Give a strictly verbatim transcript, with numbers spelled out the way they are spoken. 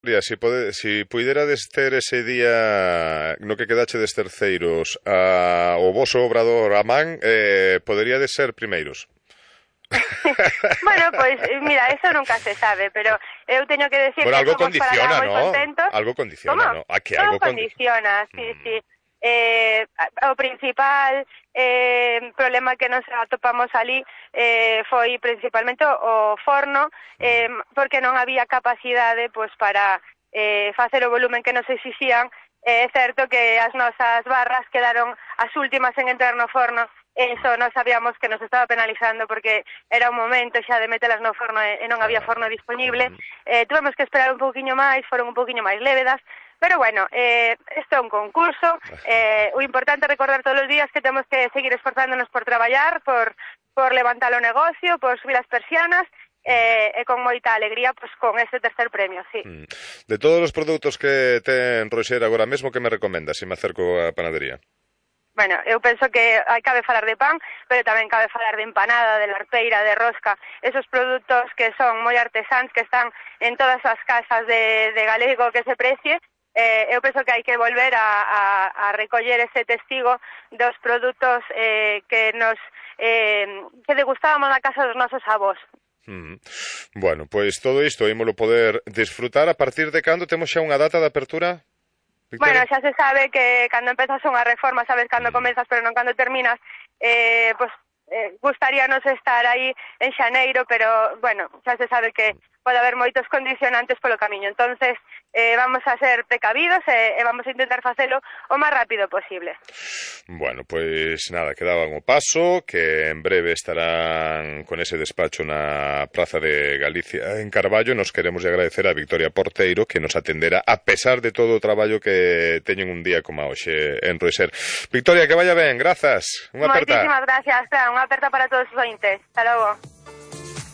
Si, pode, si puiderades ter ese día no que quedachedes terceiros a, o voso obrador a man, eh, poderíades ser primeiros. Bueno, pois, pues, mira, eso nunca se sabe, pero eu teño que decir bueno, que algo somos para nada condiciona, moi ¿no? contentos. Algo condiciona, ¿Cómo? ¿no? Ah, que Todo algo condiciona, condi... sí, mm. sí. Eh, o principal eh, problema que nos atopamos ali eh, foi principalmente o, o forno, eh, porque non había capacidade pois, para eh, facer o volumen que nos exixían. É certo que as nosas barras quedaron as últimas en entrar no forno. Eso non sabíamos que nos estaba penalizando porque era un momento xa de metelas no forno e non había forno disponible. Eh, tuvemos que esperar un pouquiño máis, foron un pouquiño máis lévedas, pero bueno, eh, isto é un concurso. Eh, o importante é recordar todos os días que temos que seguir esforzándonos por traballar, por, por levantar o negocio, por subir as persianas, e, e con moita alegría pues, con este tercer premio, sí. De todos os produtos que ten Roxer agora mesmo, que me recomendas se me acerco á panadería? Bueno, eu penso que hai cabe falar de pan, pero tamén cabe falar de empanada, de larpeira, de rosca, esos produtos que son moi artesáns, que están en todas as casas de, de galego que se precie. Eh, eu penso que hai que volver a, a, a recoller ese testigo dos produtos eh, que nos eh, que degustábamos na casa dos nosos avós. Mm. Bueno, pois todo isto ímolo poder disfrutar. A partir de cando temos xa unha data de apertura? Bueno, Victoria? xa se sabe que cando empezas unha reforma sabes cando mm. comezas, pero non cando terminas. Eh, pues, eh, gustaríanos estar aí en xaneiro, pero, bueno, xa se sabe que pode haber moitos condicionantes polo camiño. Entonces, eh, vamos a ser precavidos e, e vamos a intentar facelo o máis rápido posible. Bueno, pois nada, quedaban o paso, que en breve estarán con ese despacho na Praza de Galicia en Carballo. Nos queremos agradecer a Victoria Porteiro que nos atendera a pesar de todo o traballo que teñen un día como hoxe en Roxer. Victoria, que vaya ben, grazas. Unha aperta. Moitísimas gracias, Fran, unha aperta para todos os ointes. Hasta logo.